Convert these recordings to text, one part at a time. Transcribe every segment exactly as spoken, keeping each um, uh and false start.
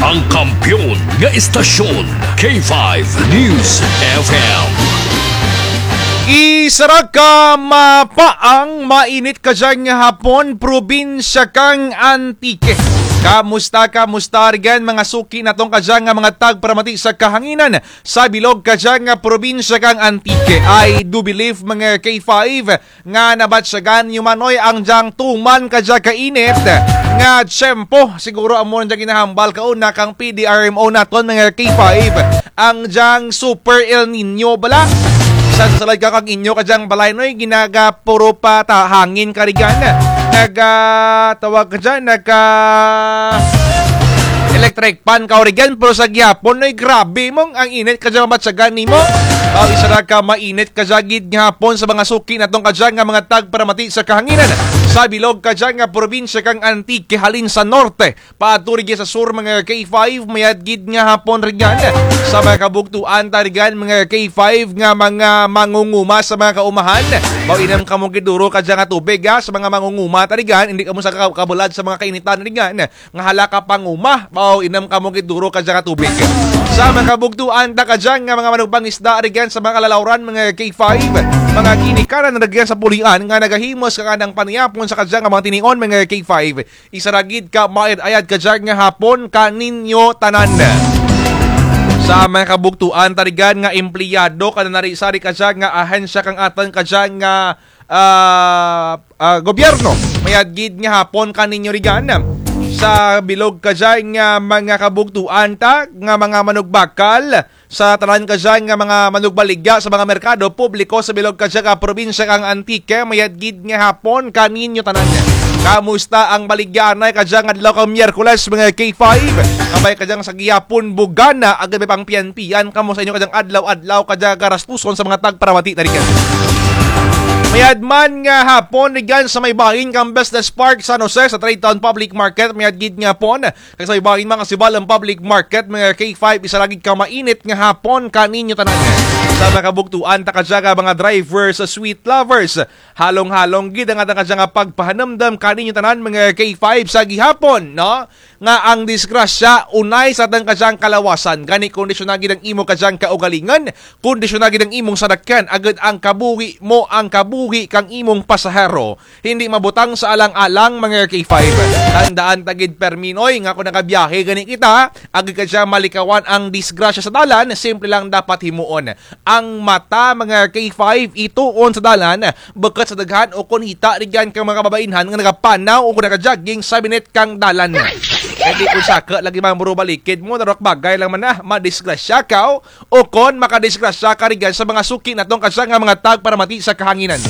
Ang kampiyon nga estasyon, K five News F M. Isara ka mapaang mainit kadya nga hapon, probinsya kang Antique. Kamusta, kamusta rugyan mga suki natong kadya nga mga tagparamati sa kahanginan sa bilog kadya nga probinsya kang Antique? I do believe mga K five nga nabatyagan nyo man oy ang dyang tuman kadya ka init nga tiyempo. Siguro amo na dyang ginahambal kauna kang P D R M O naton mga K five, ang dyang Super El Niño bala. Sa, sa salad ka kang inyo kadyang balay noy, ginagapuro pa ta hangin karigan. Naga, tawag ka dyan, naga electric fan ka rugyan, pero sa gihapon noy, grabe mong ang init kadya mabatyagan nimo. Aw, isara ka mainit kadya gid nga hapon sa mga suki natong kadya nga mga tagparamati sa kahanginan sa bilog kadya nga probinsya kang Antique, halin sa norte paadto rugyan sa sur mga K five, mayad gid nga hapon rugyan sa mga kabugtuan ta rugyan mga K five nga mga mangunguma sa mga kaumahan. Baw, inom kamo gid duro kadya nga tubig ha, sa mga mangunguma ta rugyan, indi kamo sa ka-, kabulad sa mga kainitan rugyan nga hala ka panguma. Baw, inom kamo gid duro kadya nga tubig. Sa mga kabugtuan ta kadya nga mga manugpangisda rugyan sa mga kalalawran mga K five, mga ginikanan rugyan sa pulian nga nagahimos kang anang panayapon sa kadya nga mga tinion mga K five. Isara gid ka maayad-ayad kadya nga hapon kaninyo tanan. Sa mga kabugtuan ta rugyan nga empleyado, kadya nari sari kadya nga ahensya kang atun kadya nga, ah, ah, gobyerno, mayad gid nga hapon kaninyo rugyan. Sa bilog kadya nga mga kabugtuan ta nga mga manugbakal, sa tanan kadya nga mga manugbaligya sa mga merkado publiko sa bilog kadya nga probinsya kang Antique, mayad gid nga hapon kaninyo tanan. Kamusta ang baligya anay kadya nga adlaw kang Miyerkules mga K five? Nga bay kadya nga sa gihapon bugana, agud bay pangpiyan-piyan kamo sa inyo kadya nga adlaw-adlaw kadya nga garastuson sa mga tagparamati ta rugyan. Mayad man nga hapon rugyan sa may bahin kang Business Park San Jose sa Trade Town Public Market, mayad gid nga hapon. Kag sa iba, mga sibalang public market, mga K five, isara gid ka mainit nga hapon kaninyo tanan. Sa mga kabugtuan ta kadya nga mga drivers, sweet lovers, halong-halong gid ang atun kadya nga pagpahanumdum kaninyo tanan, mga K five, sa gihapon, no? Nga ang disgrasya, unay sa atun kadya nga kalawasan. Gani, kondisyon na gid ang imo kadya nga kaugalingon, kondisyon na gid ang imong sarakyan, agud ang kabuhi mo, ang kabuhi kang imong pasahero. Hindi mabutang sa alang-alang, mga K five. Tandaan ta gid permi noy nga kon nagabiyahe gani kita, agud kadya malikawan ang disgrasya sa dalan, simple lang dapat himuon. Ang mata, mga K five, ituon sa dalan, bukut sa daghan ukon hita rugyan kang mga kababainhan nga nagapanaw ukon nagajogging sa binit kang dalan. Kay di kon saka lagi man buro balikid mo, darok bagay lang man na, madisgrasya kaw, ukon makadisgrasya ka rugyan sa mga suki natong kadya nga mga tagparamati sa kahanginan.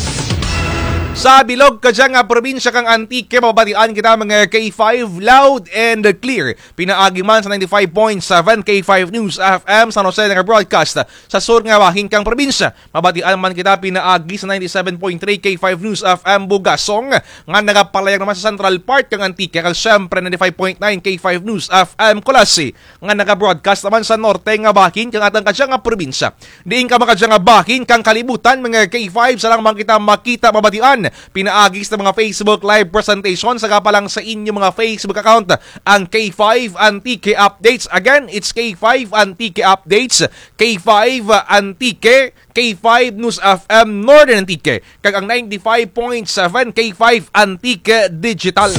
Sa bilog kadya nga probinsya kang Antique, mababatian kita mga K five loud and clear. Pinaagi man sa ninety-five point seven K five News F M San Jose nagabroadcast sa sur nga bahin kang probinsya. Mabatian man kita pinaagi sa ninety-seven point three K five News F M Bugasong nga nagapalayag naman sa Central Park kang Antique, kag siyempre ninety-five point nine K five News F M Culasi nga nagabroadcast naman sa norte nga bahin kang atun kadya nga probinsya. Diin ka man kadya nga bahin kang kalibutan, mga K five, sa lang man kita makita, mabatian pinaagi sa mga Facebook Live presentation, saka pa lang sa inyo mga Facebook account, ang K five Antique Updates. Again, it's K five Antique Updates, K five Antique, K five News F M Northern Antique, kag ang ninety-five point seven K five Antique Digital.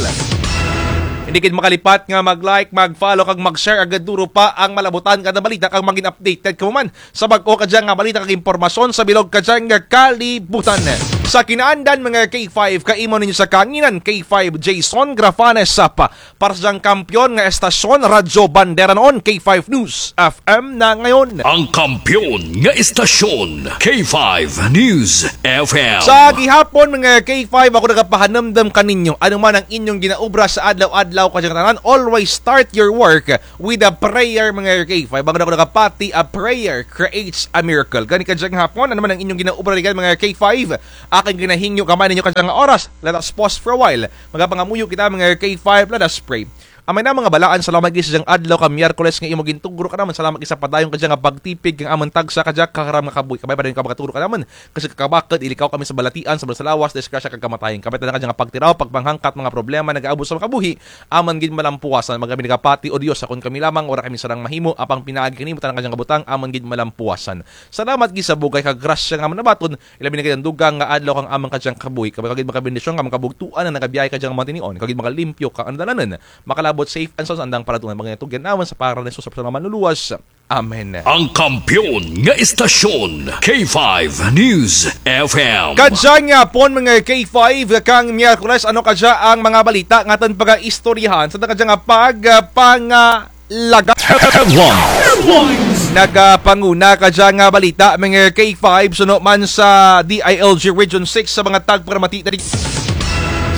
Hindi gid makalipat nga mag-like, mag-follow, kag mag-share, agud duro pa ang malabutan kada balita, kag magin updated kamo man sa bag-o kadya nga balita kag impormasyon sa bilog kadya nga kalibutan. Sa kinaandan, mga K five, kaimo ninyo sa kahanginan, K five Jason Grafanes Sapa. Para sa dyang kampiyon nga estasyon, Radyo Bandera noon, K five News F M na ngayon. Ang kampiyon nga estasyon, K five News F M. Sa gihapon, mga K five, ako nagapahanumdum kaninyo, ano man ang inyong ginaobra sa adlaw-adlaw kadya nga tanan, always start your work with a prayer, mga K five. Bangod ako nagapati, a prayer creates a miracle. Gani kadya nga hapon, ano man ang inyong ginaobra rugyan, mga K five, akun ginahingyo, gamay ninyo kadya nga oras. Let us pause for a while. Magapangamuyo kita, mga K five, let us pray. Amay na mga balaan, salamat gid sa dyang adlaw ka Miyerkules nga imo gintugro kanamun. Salamat gid sa padayon kadya nga pagtipig kang amun tagsa kadya ka karam nga kabuhi. Kabay padayon ka magatugro kanamun. Kag sa kakabakud, ilikaw kami sa balatian, sa balad sa lawas, disgrasya kag kamatayon. Kabay tanan kadya nga pagtiraw, pagpanghangkat, mga problema, nagaabot sa mga kabuhi, amun gid malampuasan. Mga kami nagapati, O Dios, kon kami lamang, wara kami sarang mahimo, apang pinaagi kanimo tanan kadya nga butang, amun gid malampuasan. Salamat gid sa bugay kag grasya nga amun nabaton, ilabi na gid ang dugang nga adlaw kang amun kadyang kabuhi. Kabay kag gid makabendisyon, kang mga kabugtuan nga nagabiyahe kadyang mga tinion, kag gid makalimpyo kang andalanan. Makalabot safe and sound sa andang palatungan. Mga tugyan namun sa pangaran ni Jesus, sa mga manluluwas. Amen. Ang kampiyon nga istasyon, K five News F M. Kadyang hapon, mga K five, kang Miyerkules, ano kadya ang mga balita nga atun pagaistoryahan sa kadyang pag, ah, pangalaga? Headlines. Nagapanguna kadya nga balita, mga K five, suno man sa D I L G Region six sa mga tagparamati diri.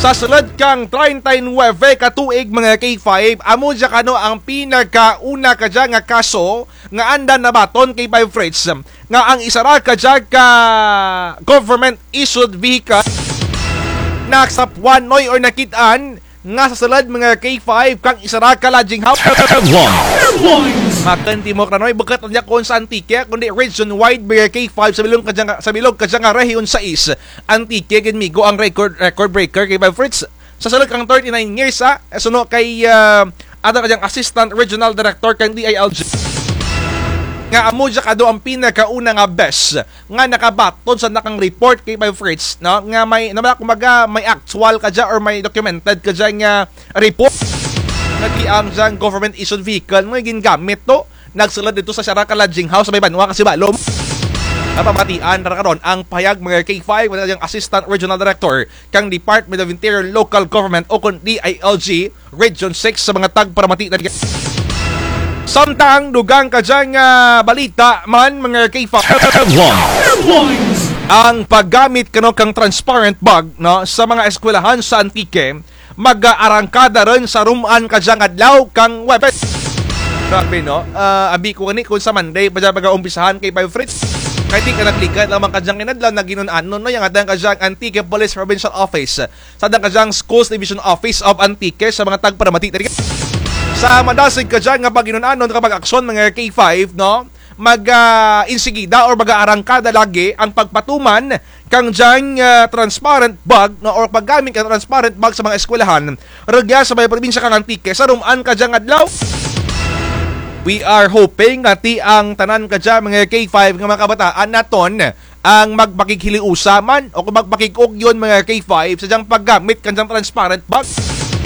Sa sulud kang treinta y nuebe ka tuig, mga K five, amo dya kano ang pinakauna kadya nga kaso nga anda nabaton, K five Fritz, nga ang isara kadya ka government issued vehicle nagsapwan, noy, or nakit-an nga sa sulud, mga K five, kang isara ka lodging house. Headlines. Makanti mo kra, noy, bukut dya kon sa Antique, kundi region wide, mga K five, sa bilog kadya nga, sa bilog kadya nga Region sais, Antique gid migo ang record, record breaker, K five Fritz. Sa sulud kang thirty-nine years, ah, suno kay, ah, atun kadyang Assistant Regional Director kang D I L G, nga amo dya kano ang pinakauna nga bes nga nakabaton sa nakang report, K five Fritz, no? Nga may, na, kumbaga, may actual kadya or may documented kadya nga report nga ti ang dyang government issued vehicle nga gingamit to nagsulud didto sa isara ka lodging house sa may banwa kang Sibalom. Napamatian ra karon ang pahayag, mga K five, nga dyang Assistant Regional Director kang Department of Interior Local Government o kon D I L G Region six sa mga tagparamati na. Samtang dugang kadya nga balita man, mga K five. Headlines. Ang paggamit kano kang transparent bag, no, sa mga eskwelahan sa Antique, mag-aarangkada run sa rum-an kadyang adlaw kang Huwebes. Grabe, no? Ah, abi ko gani kon sa Monday pa dya pagaumpisahan, K five Fritz. Kay ti ka nagligad lamang kadyang inadlaw nga ginun-anon, no, ang atun kadyang Antique Police Provincial Office, sa atun kadyang Schools Division Office of Antique sa mga tagparamati diri. Sa madasig kadya nga pagginun-anon kag pag-aksyon, mga K five, no? Mag, ah, insigida or mag-aarangkada lagi ang pagpatuman kang dyang, ah, transparent bag, no, or paggamit kang transparent bag sa mga eskwelahan rugya sa may probinsya kang Antique sa rum-an kadyang adlaw. We are hoping nga ti ang tanan kadya, mga K five, nga mga kabataan natun ang magpakighiliusa man o kon magpakig-ugyon, mga K five, sa dyang paggamit kang dyang transparent bag.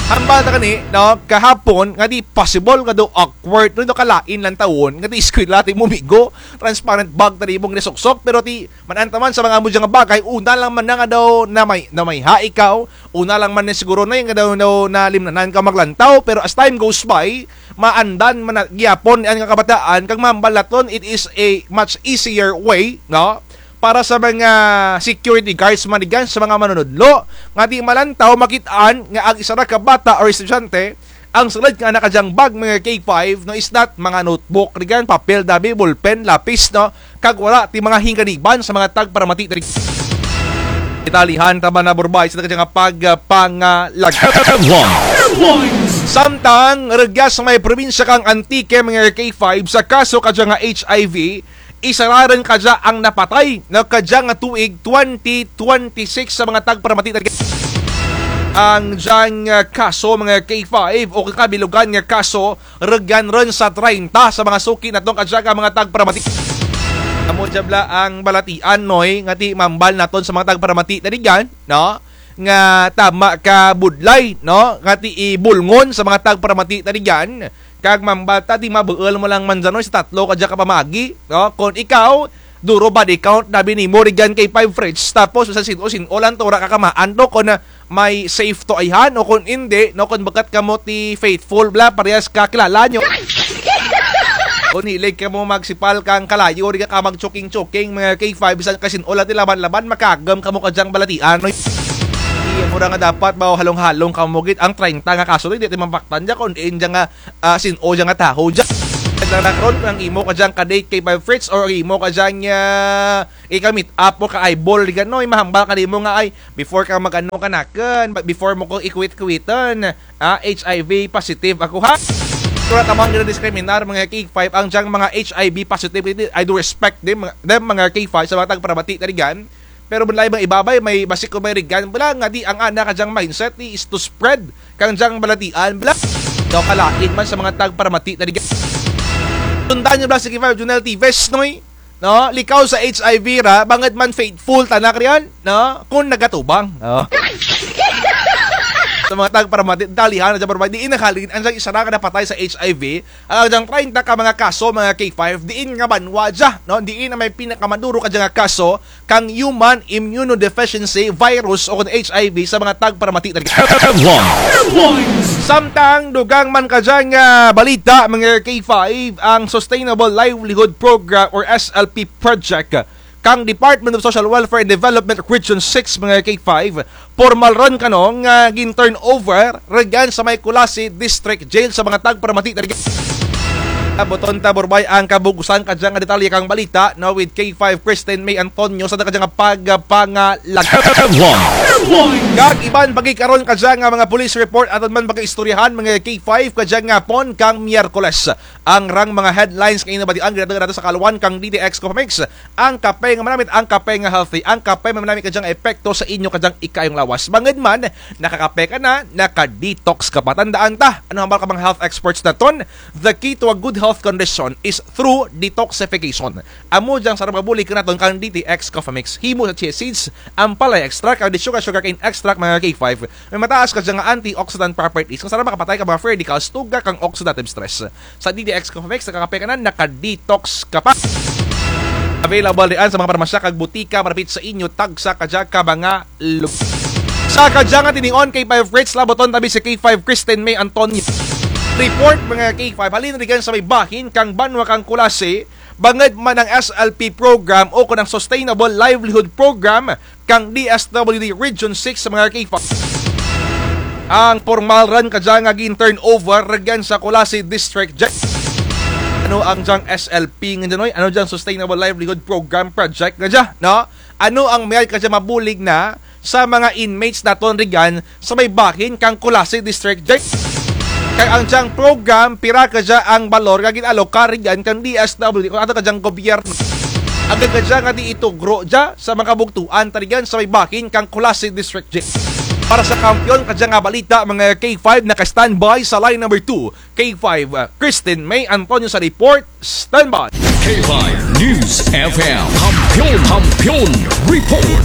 Hambal ta kani, no, kahapon nga ti possible nga daw awkward, no, kalain lantawon nga ti eskwela ti imo migo, transparent bag ta imo ginasuksok, pero ti man-an ta man sa mga amo dya nga bagay, una lang man na nga daw na may, na may ha ikaw, una lang man na siguro na nga daw, daw nalimnanan ka maglantaw, pero as time goes by, maandan man na gihapon ang kabataan, kag mahambal natun, it is a much easier way, no? Para sa mga security guards man rugyan, sa mga manunudlo, nga ti malantaw, makit-an nga ang isara ka bata or estudyante, ang sulud kang ana kadyang bag, mga K five, no, is not mga notebook rugyan, papel dabi, ballpen, lapis, no, kag wara ti mga hinganiban sa mga tagparamati diri. Italihan ta ba na burbay sa kadyang pagpangalag. Headlines. Samtang rugya sa may probinsya kang Antique, mga K five, sa kaso kadya nga H I V, isara run kadya ang napatay, no, kadya nga tuig twenty twenty-six sa mga tagparamati diri. Ang dyang, ah, kaso, mga K five, o kabilugan nga kaso, rugyan run sa treinta sa mga suki natun kadya nga mga tagparamati. Amo dya bala ang balatian, noy, nga ti mambal natun sa mga tagparamati diri dyan, no? Nga tama ka budlay, no? Nga ti ibulngon sa mga tagparamati diri dyan. Kag mambal ta ti mabuul mo lang man dyan, noy, sa tatlo kadya ka pamaagi, no? Kon ikaw, duro body count na binimo rugyan kay five Fritz, tapos sa sin-o, sin-o lang to, wara ka kamaan to, kon, ah, may safe to ayhan, o kon indi, no, kon bukut kamo ti faithful bala, parehas ka kilala nyo. Kon hilig kamo magsipal kang kalayo, di ka mag-choking-choking, mga K five, bisan kasin-o lang ti laban-laban, makagum kamo kadyang balatian, no? Iya mo ra nga dapat, ba, halong-halong kamo gid, ang treinta nga kaso, di ti mapaktan dya, kon diin dya nga, ah, sin-o dya nga tawo dya. Karon ang imo kadyang ka-date K five Fritz or imo kadyang, ah, ika-meet up mo ka-eyeball, ganoy, mahambal kanimo nga, ay, before ka mag-ano kanakun, ba-, before mo ko ikuwit-kuwitan, ah, H I V positive ako, ha? Wara ta man gina-discriminar, mga K five, ang dyang mga H I V positive, I do respect them, mga, them, mga K five, sa mga tagparamati tarigan. Pero bala ibang iba bay, may basi kon may rigan, bala nga di ang ana kadyang mindset ni is to spread kang dyang balatian, bala. Daw kalain man sa mga tagparamati tarigan. Tundan nyo bala si K five Junel Tives, noy? No? Likaw sa H I V ra, bangud man faithful tana karian, no? Kon nagatubang. Oh. Sa mga tagparamati, dalihan na dyan, paramati, diin nahalin, ang dyang isa ra ka napatay sa H I V, ang dyang treinta ka mga kaso, mga K five, diin nga banwa dya, no? Diin na may pinakamaduro ka dyan nga kaso, kang human immunodeficiency virus o kon H I V sa mga tagparamati tarigan. Headlines. Samtang dugang man kadya nga balita, mga K five, ang Sustainable Livelihood Program or S L P project kang Department of Social Welfare and Development Region six, mga K five, pormal run kano nga gin-turnover rugyan sa may Culasi District Jail sa mga tagparamati tarigan. Abuton ta, Borbay, ang kabug-usan kadya nga detalye kang balita, no, with K five Kristen May Antonio sa kadya nga pagpangalag. Headlines. Kag iban pa gid karon kadya nga mga police report, aton man pagaistoryahan, mga K five, kadya nga hapon kang Miyerkules. Ang rang mga headlines nga inyo nabatian, ginatunga nato sa kaalwan kang D T X Coffee Mix. Ang kape nga manamit, ang kape nga healthy, ang kape nga manamit kadyang epekto sa inyo kadyang ikaayong lawas. Bangud man, nakakape ka na, naka-detox ka pa. Tandaan ta, ano hambal ka mga health experts naton? The key to a good health condition is through detoxification. Amo dyang sarang mabulig kanaton kang D T X Coffee Mix. Himo sa chia seeds, ampalaya extract, kag sugar, sugarcane extract, mga K five. May mataas kadya nga antioxidant properties nga sarang makapatay kang mga free radicals, tugga kang oxidative stress. Sa D T X Coffee Mix, nakakape ka na, naka-detox ka pa. Available diin sa mga parmasya kag butika malapit sa inyo, tagsa kadya ka mga lugar. Sa kadya nga tinion, K five Fritz, labuton ta bi si K five Kristen May Antonio. Report, mga K five, halin rugyan sa may bahin kang banwa kang Culasi, bangud man ang S L P program o kon ang Sustainable Livelihood Program kang D S W D Region six, mga K five. Ang pormal run kadya nga gin-turnover rugyan sa Culasi District Jail. Ano ang dyang S L P nga dyan, oy? Ano dyang Sustainable Livelihood Program Project nga dyan, no? Ano ang mayad kadya mabulig na sa mga inmates naton rugyan sa may bahin kang Culasi District Jail? Kag ang dyang program, pira kadya ang balor nga gin-alokar rugyan kang D S W D o kon ato kadyang gobyerno? Agud kadya nga di itugro dya sa mga kabugtuan tarigan sa may bahin kang Culasi District Jail. Para sa kampiyon kadya nga balita, mga K five, naka-standby sa line number two, K five, uh, Kristen May Antonio sa report. Standby. K five News F M. Kampiyon, Kampiyon Report.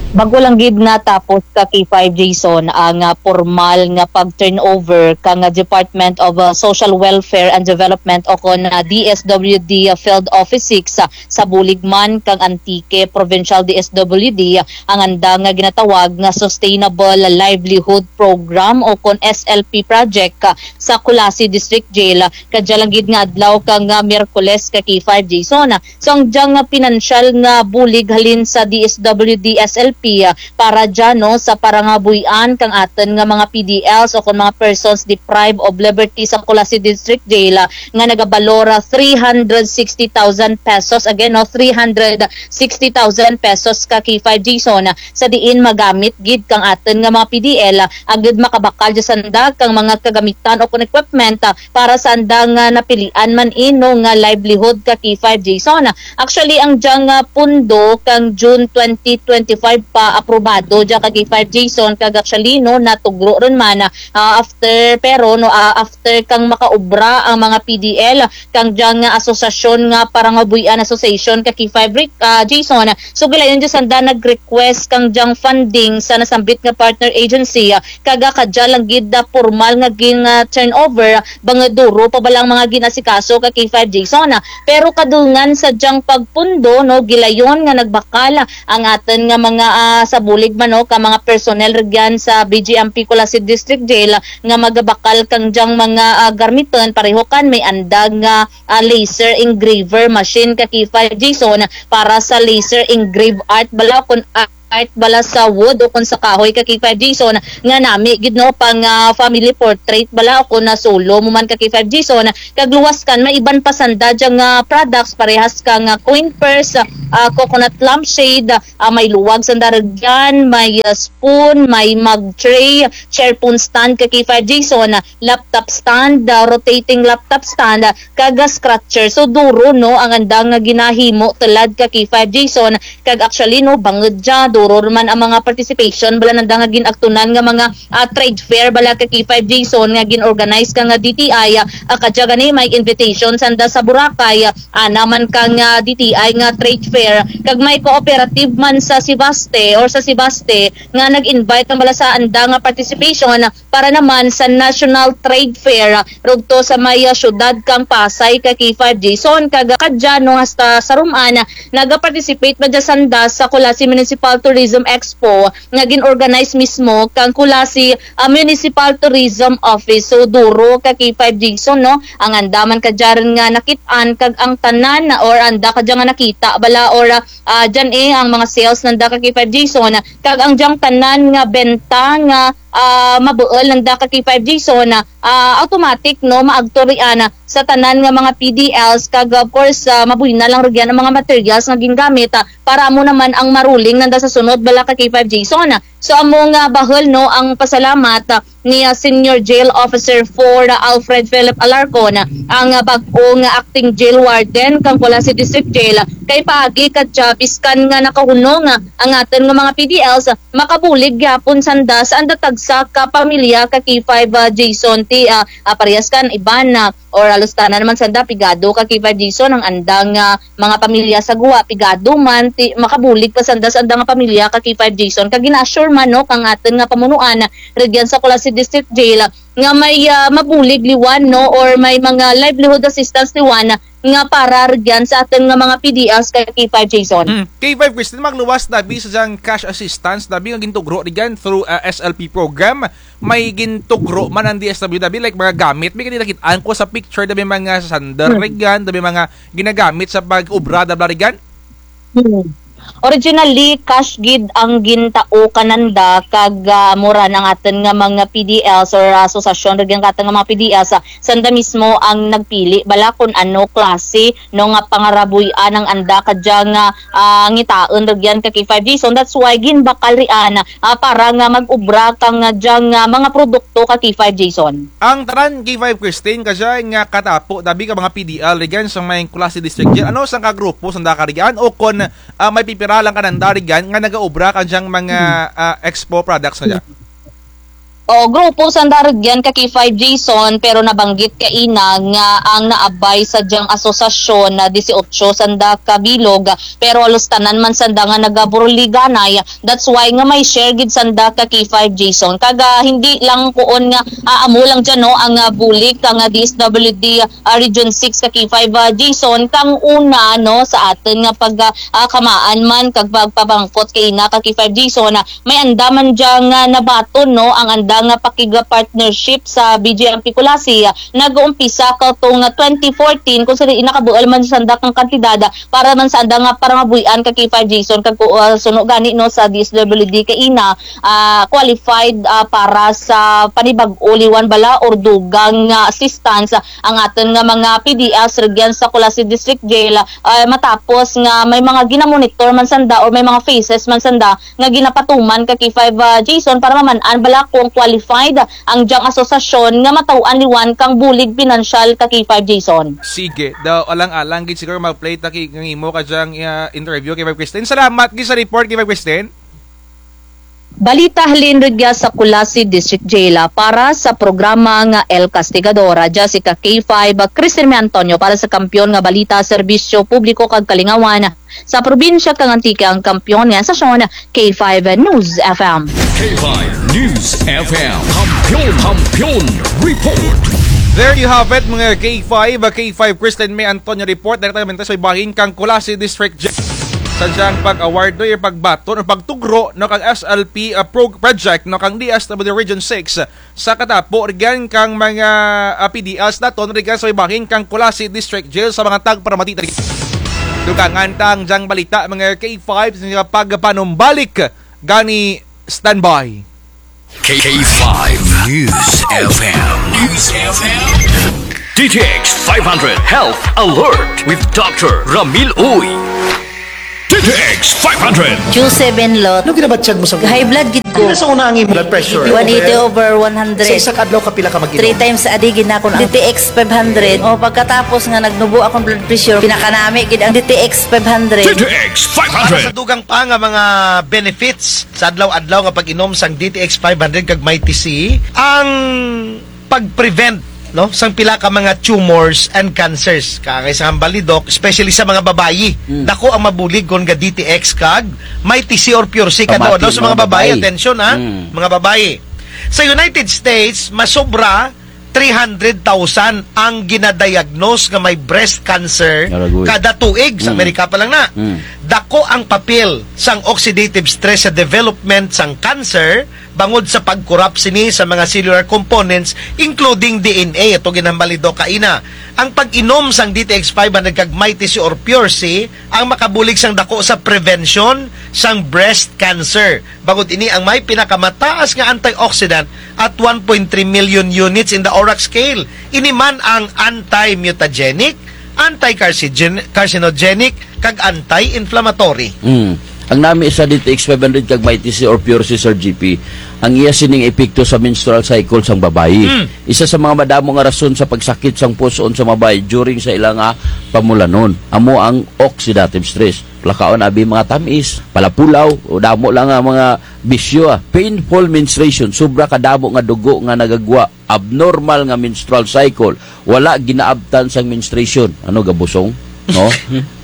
Bag-o lang gid natapos ka K five Jason ang, ah, pormal nga pag-turnover kang, ah, Department of, ah, Social Welfare and Development o kon, ah, D S W D, ah, Field Office six, ah, sa bulig man kang Antique Provincial D S W D, ah, ang andang nga ginatawag nga Sustainable Livelihood Program o kon S L P project, ah, sa Culasi District Jail, ah, kadya lang gid nga adlaw kang, ah, Miyerkules ka K five Jason, ah. So, ang dyang, ah, pinansyal nga bulig halin sa D S W D S L P, ah, para dya, no, sa parangabuy-an kang atun nga mga P D Ls o kon mga persons deprived of liberty sa Culasi District Jail, ah, nga nagabalor, ah, three hundred sixty thousand pesos. Again, no, three hundred sixty thousand pesos ka K five Jason, ah, sa diin magamit gid kang atun nga mga P D L, ah, agud makabakal dya sanda kang mga kagamitan o kon equipment, ah, para sa andang, ah, napilian man, eh, no, nga livelihood ka K five Jason. Actually, ang dyang, ah, pundo kang June twenty twenty-five pa aprobado dya ka K five Jason, kag actually, no, natugro run man, ah, after, pero, no, ah, after kang makaobra ang mga P D L, kang dyang, ah, asosasyon nga Parangabuy-an Association ka K five Rick, ah, Jason. So, gilayon dya sanda nag-request kang dyang funding sa nasambit nga partner agency, ah, kag kadya lang gid, ah, pormal nga gin, ah, turnover, ah, bangud duro pa bala ang mga gin-asikaso ka K five Jason, ah. Pero kadungan sa dyang pagpundo, no, gilayon nga nagbakal, ah, ang atun nga mga, ah, sa bulig man, no, ka mga personnel rugyan sa B J M P Culasi District Jail, ah, nga magabakal kang dyang mga, ah, garmitun, pareho kan may andang nga, ah, laser engraver machine ka K five Jason para sa laser engrave art bala kon, ah, art bala sa wood o kon sa kahoy ka K five Jason, nga nami gid no pang, ah, family portrait bala o kon na solo mo man ka K five Jason, kag luwas kan may iban pa sanda dyang, ah, products parehas kang, ah, coin purse, ah, coconut lampshade, ah, may luwag sanda rugyan, may, ah, spoon, may mug tray, chair phone stand ka K five Jason, laptop stand, ah, rotating laptop stand, ah, kag, ah, scratcher. So duro no ang andang nga ginahimo tulad ka K five Jason, kag actually no bangud dya duro man ang mga participation bala nanda nga gin-agtunan nga mga, ah, trade fair bala ka K five Jason nga gin-organize kang, ah, D T I, ah, kadya gani may invitation sanda sa Boracay, ah, ana man kang, ah, D T I nga trade fair kag may cooperative man sa Sebaste or sa Sebaste nga nag-invite man bala sa andang nga participation para naman sa National Trade Fair, ah, rugto sa may, ah, syudad kang Pasay ka K five Jason, kag, ah, kadya no hasta sa Roman, ah, naga-participate man dya sanda sa Culasi Municipal Tourism Expo nga gin-organize mismo kang Culasi, ah, Municipal Tourism Office. So duro ka K five Jason no ang anda man kadya run nga nakit-an kag ang tanan or anda kadya nga nakita bala or, ah, ah, dyan eh ang mga sales nanda ka K five Jason, kag ang dyang tanan nga benta nga, ah, mabuul nanda ka K five Jason, ah, automatic no maagto rian, ah, sa tanan nga mga P D Ls kag of course, ah, mabuy na lang rugyan ang mga materials nga gingamit, ah, para amo naman ang maruling nanda sa sunod bala ka K five Jason. So amo nga bahul no ang pasalamat, ah, ni, ah, Senior Jail Officer four, ah, Alfred Philip Alarcon, ah, ang, ah, bag-o nga acting jail warden kang Culasi District Jail, ah, kay paagi kadya biskan nga nakahunong, ah, ang atun nga mga P D Ls, ah, makabulig gihapon sanda sa anda tagsa ka pamilya ka K five, ah, Jason ti, ah, ah, parehas kan iban, ah, or halos tanan man sanda pigado ka K five Jason ang andang, ah, mga pamilya sa guwa, pigado man ti makabulig pa sanda sa andang nga pamilya ka K five Jason. Kag gina-assure man no kang atun nga pamunuan rugyan sa Culasi District Jail nga may, ah, mabulig liwan no or may mga livelihood assistance liwan nga para rugyan sa atun nga mga P D Ls ka K five Jason. Hmm. K five Christine, magluwas dabi sa dyang cash assistance dabi nga gintugro rugyan through, ah, S L P program. May gintugro man ang D S W dabi, like mga gamit, may gani nakit-an ko sa picture dabi mga sander rugyan, dabi mga ginagamit sa pag-obra dabi rugyan? Hmm. Originally, cash gid ang gintao kananda kag, ah, amo ra ang atun nga mga P D Ls or asosasyon rugyan kang atun nga mga P D Ls, ah, sanda mismo ang nagpili bala kon ano klase no nga pangarabuy-an ang anda kadya nga, ah, ngitaun rugyan ka K five Jason. That's why ginbakal rian, ah, para nga mag-obra kang, ah, dyang, ah, mga produkto ka K five Jason. Ang tanan K five Christine kadya nga katapo dabi ka mga P D L rugyan sa may Culasi District Jail. Ano sang ka grupo sanda ka rugyan o kon, ah, may pipira lang kananda rugyan nga nagaobra kang dyang mga, ah, expo products na dya? O, grupo sanda rugyan ka K five Jason, pero nabanggit kaina nga ang naabay sa dyang asosasyon na disiotso sanda ka bilog, pero halos tanan man sanda nga nagaburuliganay. That's why nga may share gid sanda ka K five Jason. Kag, ah, hindi lang kuon nga, ah, amo lang dyan, no, ang, ah, bulig kang, ah, D S W D, ah, Region six ka K five, ah, Jason, kang una, no, sa atun nga pag, ah, ah, kamaan man kag pagpabangkot kaina ka K five Jason, ah, may anda man dya nga nabaton, no, ang anda nga pakig-partnership sa B J M P Culasi, ah, nag-uumpisa katong, ah, twenty fourteen, kung sa diin nakabuul man sanda kang kantidad, ah, para man sa anda nga parangabuy-an ka K five Jason, kag, ah, suno gani, no, sa D S W D kaina, ah, qualified, ah, para sa panibag-o liwan bala or dugang, ah, assistance, ah, ang atun nga mga P D Ls rugyan sa Culasi District Jail, ah, matapos nga may mga ginamonitor man sanda or may mga faces man sanda nga ginapatuman ka K five, ah, Jason, para maman-an bala kung qualified ang dyang asosasyon nga mataw-an liwan kang bulig pinansyal ka K five Jason. Sige, daw alang-alang gid siguro mag-play ta ki-, kang imo ka dyang, ah, interview K five Christine. Salamat gid sa report K five Christine. Balita halin rugya sa Culasi District Jail, ah, para sa programa nga El Castigador, ah, Jessica K five, ah, Christine May Antonio para sa Kampiyon nga Balita, Serbisyo Publiko kag Kalingawan. Sa probinsya kang Antique ang kampiyon nga estasyon, K five News F M. K five News F M. Kampiyon, Kampiyon Report. There you have it, mga K five, K five Christine May Antonio Report, direktamente sa ibahin kang Culasi District Jail. Sa dyang pag-award, no, yung pagbaton o pagtugro, no, kang S L P, ah, pro-, project, no, kang D S W D Region six, sa katapo, rugyan kang mga, ah, P D Ls naton, rugyan sa ibahin kang Culasi District Jail sa mga tagparamati. Dugangan ta ang dyang balita, mga K five, sa mga pagpanumbalik Gani, standby. K five News F M. News F M. D T X five hundred Health Alert with Doctor Ramil Uy. D T X five hundred. Q seven lot. Ano ginabatyag mo sa High blood gid ko. Ano sa una ang imo blood pressure? One eighty over one hundred. Sa isa ka adlaw ka pila ka mag-inom? Three times a day gid na ako na D T X five hundred. O, pagkatapos nga nagnubo akong blood pressure, pinakanami gid ang D T X five hundred. D T X five hundred. Para sa dugang pa nga mga benefits sa adlaw-adlaw nga pag-inom sang D T X five hundred kag Mighty C, ang pag-prevent, no, sang pila ka mga tumors and cancers. Kaangay sa hambal ni Doc, especially sa mga babayi. Mm. Dako ang mabulig kon ga D T X kag Mighty C or Pure C. Kadlaw-adlaw sa mga babayi, atensyon, ha? Mm. Mga babayi. Sa United States, masobra three hundred thousand ang ginadiagnose nga may breast cancer kada tuig. Sa Amerika pa lang na. Mm. Dako ang papel sang oxidative stress sa development sang cancer, bangod sa pag-corrupt sini sa mga cellular components, including D N A, ato ginhambal ni Doc kaina. Ang pag-inom sang D T X five hundred kag Mighty C or Pure C ang makabulig sang dako sa prevention sang breast cancer. Bangod ini ang may pinakamataas nga antioxidant at one point three million units in the ORAC scale. Ini man ang anti-mutagenic, anti-carcinogen-, carcinogenic, kag anti-inflammatory. Mm. Ang nami sa D T X five hundred kag Mighty C or Pure C, Sir G P, ang iya sining epekto sa menstrual cycle sang babayi. Mm. Isa sa mga madamo nga rason sa pagsakit sang pus-on sa babayi during sa ila nga pamulanon. Amo ang oxidative stress. Lakaon abi mga tam-is, palapulaw, o damo lang nga mga bisyo, ah. Painful menstruation, sobra kadamo nga dugo nga nagagwa, abnormal nga menstrual cycle, wala ginaabtan sang menstruation. Ano, gabusong? No?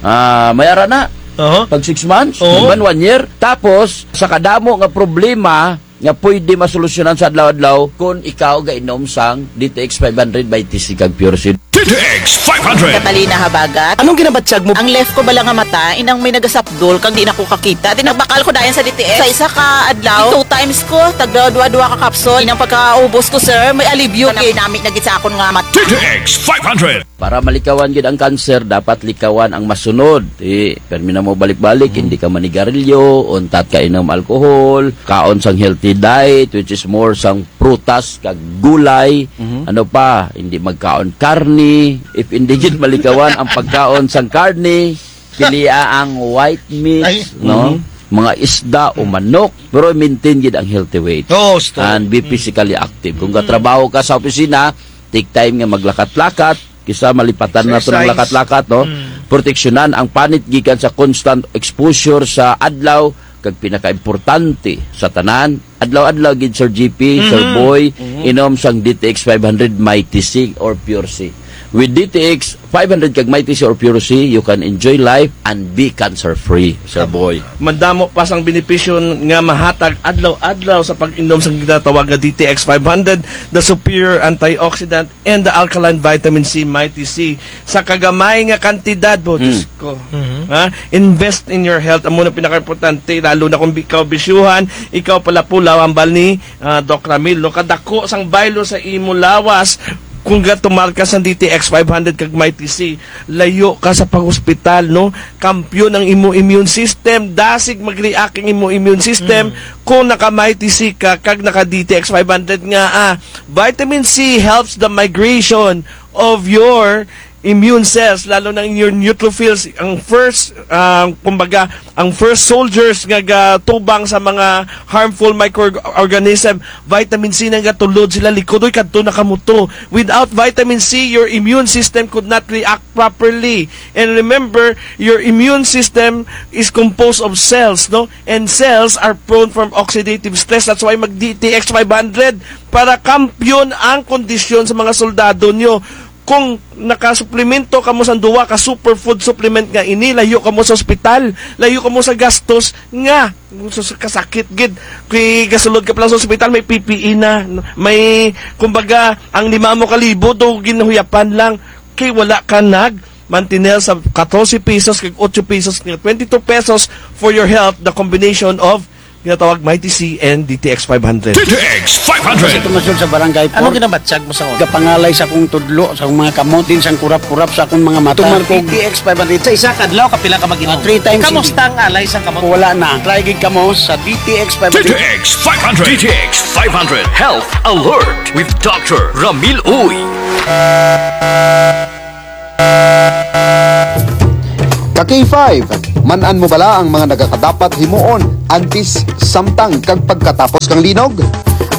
Ah, may ara na. Aha. Pag six months, oo, iban one year. Tapos, sa kadamo nga problema nga pwede masolusyonan sa adlaw-adlaw kon ikaw gainom sang D T X five hundred Mighty C kag Pure C. D T X five hundred. Catalina Habagat. Anong ginabatyag mo? Ang left ko bala nga mata, inang may nagasapdol, kag di na ko kakita. Di nagbakal ko dayon sa D T X. Sa isa ka adlaw, two times ko, tagda duwa-duwa ka capsule. Inang pagkaubos ko, sir, may alibyo gid. Nami na gid sa akon nga mata. D T X five hundred. Para malikawan gid ang kanser, dapat likawan ang masunod. Ti, permi na mo balik-balik, hindi ka manigarilyo, untat ka inom alcohol, kaon sang healthy diet, which is more sang prutas kag gulay. Mhm. Ano pa, hindi magkaon karne. If hindi gid malikawan ang pagkaon sang karne, pilia ang white meat, ay, no? Mhm. Mga isda o manok, pero maintain gid ang healthy weight. Oo, gusto. And be physically active. Kung gatrabaho ka sa opisina, take time nga maglakat-lakat, kisa malipatan naton ang lakat-lakat, no? Mm. Proteksyonan ang panit gikan sa constant exposure sa adlaw, kag pinakaimportante sa tanan, adlaw-adlaw gid, Sir G P, Sir Boy, inom sang D T X five hundred Mighty C or Pure C. With D T X five hundred kag Mighty C or Pure C, you can enjoy life and be cancer-free, Sir Boy. Madamo pa sang benepisyo nga mahatag adlaw-adlaw sa pag-inom sang ginatawag nga D T X five hundred, the superior antioxidant and the alkaline vitamin C, Mighty C. Sa kagamay nga kantidad, bo, Diyos ko. Mhm. Ha? Invest in your health. Amo na pinakaimportante, lalo na kung bi-, ikaw bisyuhan, ikaw palapulaw, hambal ni, ah, Doc Ramil, no? Kadako sang baylo sa imo lawas, kung gatumar ka sa D T X five hundred kag Mighty C, layo ka sa panghospital, no? Kampiyon ang imo immune system, dasig mag-react ang imo immune system, kung naka-Mighty C ka, kag naka-D T X five hundred nga, ah, vitamin C helps the migration of your immune cells, lalo na in your neutrophils, ang first, ah, kumbaga, ang first soldiers nga gatubang sa mga harmful microorganism, vitamin C nang gatulod sila likod, oy, kadto na kamo to. Without vitamin C, your immune system could not react properly. And remember, your immune system is composed of cells, no? And cells are prone from oxidative stress. That's why mag-D T X five hundred para kampiyon ang kondisyon sa mga soldado nyo. Kung nakasuplemento kamo sa duwa ka superfood supplement nga ini, layo kamo sa ospital, layo kamo sa gastos nga, sa, sa kasakit gid. Kay gasulod ka pa lang sa ospital, may P P E na, may, kumbaga, ang lima mo ka libo, do ginhuyapan lang. Kay wala ka nag-mantinel sa katorse pesos kag otso pesos nga twenty-two pesos for your health, the combination of Ginatawag Mighty C and D T X five hundred. D T X five hundred. Sa tumasod sa barangay Ano four, ginabatyag mo sa una? Gapangalay sa akong tudlo, sa akong mga kamot, din sang kurap-kurap sa akong mga mata. Tumar ko D T X five hundred. Sa isa ka adlaw, kapila ka mag-inom? Ah, three times a day. Kamusta ang alay sa kamot? Wala na. Try gid kamo sa D T X five hundred. D T X five hundred. D T X five hundred Health Alert with Doctor Ramil Uy. Ka K five, man-an mo bala ang mga nagakadapat himuon antes, samtang, kag pagkatapos kang linog?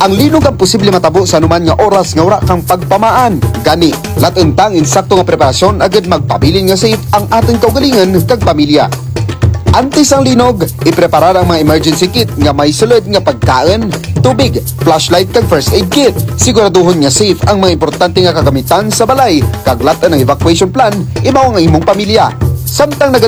Ang linog ang posible matabo sa anuman nga oras nga wara kang pagpamaan. Gani, lat-en ta ang insakto nga preparasyon agud magpabilin nga safe ang atun kaugalingon kag pamilya. Antes ang linog, ipreparar ang mga emergency kit nga may sulud nga pagkaun, tubig, flashlight kag first aid kit. Siguraduhon nga safe ang mga importante nga kagamitan sa balay, kag lat-en ang evacuation plan imaw ang imong pamilya. Samtang naga-